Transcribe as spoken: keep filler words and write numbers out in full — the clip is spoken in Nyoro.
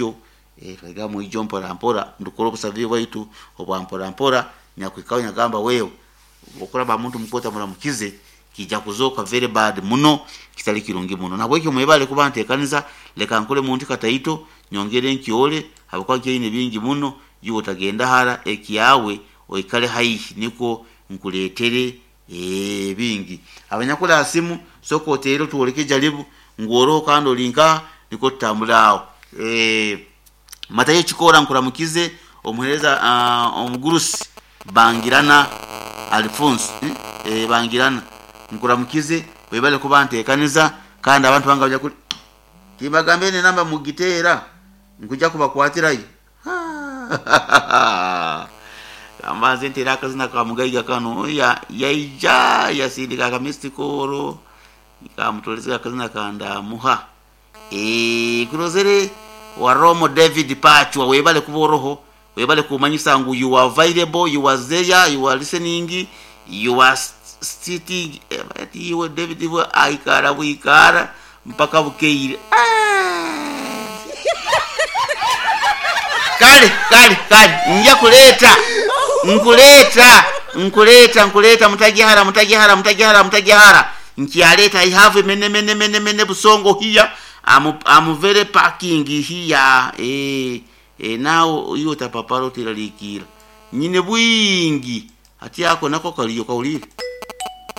mwijo, eh, twahika mwijo mpora mpora ndukora obusavi bwaitu obwa mpora mpora. Nyakwikaho nyagamba wewe okuraba muntu mukota muramukize kijja kuzooka very bad muno, kitali kirungi muno. Nabwekyo mwebale kuba ntekaniza. Leka nkole muntu kataito nyongere nkyole habwokuba nkyaine bingi muno. Iwe otagenda hara, ekyawe oikale haihi nikwo nkuleetere eh, bingi. Abanyakuli ha simu, soka oteere otwoleke jaribu ngu oroho kandi oli nkaha, nikwo tutambule aho. eh, Matayo Kikoora, nkuramukize omuheereza, uh, omugurusi Bangirana Alphonse, eh? eh, Bangirana, nkuramukize, webale kuba ntekaniza. Kandi abantu bange abanyakuli timbagambire nenamba mugiteera nkujja kubakwatirayo. Kambanze nteera akazina ka mugaiga kano ya yaija yasindika akamistikoro kamutoleza akazina kandamuha. eh kurozere wa Romo David Pachwa, webale kuba oroho, webale kumanyisa ngu you are available, you are there, you are listening, you are sitting. eh, iwe David iwe aikara bwikara mpaka bukeire. Kale kale kale nja kuleta nkuleta nkuleta nkuleta mutajihara mutajihara mutajihara mutajihara nkyaleta. I have mene mene mene mene busongo here. I'm, I'm very parking here. eh eh now iyo tapaparo tiralikira nyine bwingi ati ako nako kaliyo kawulire.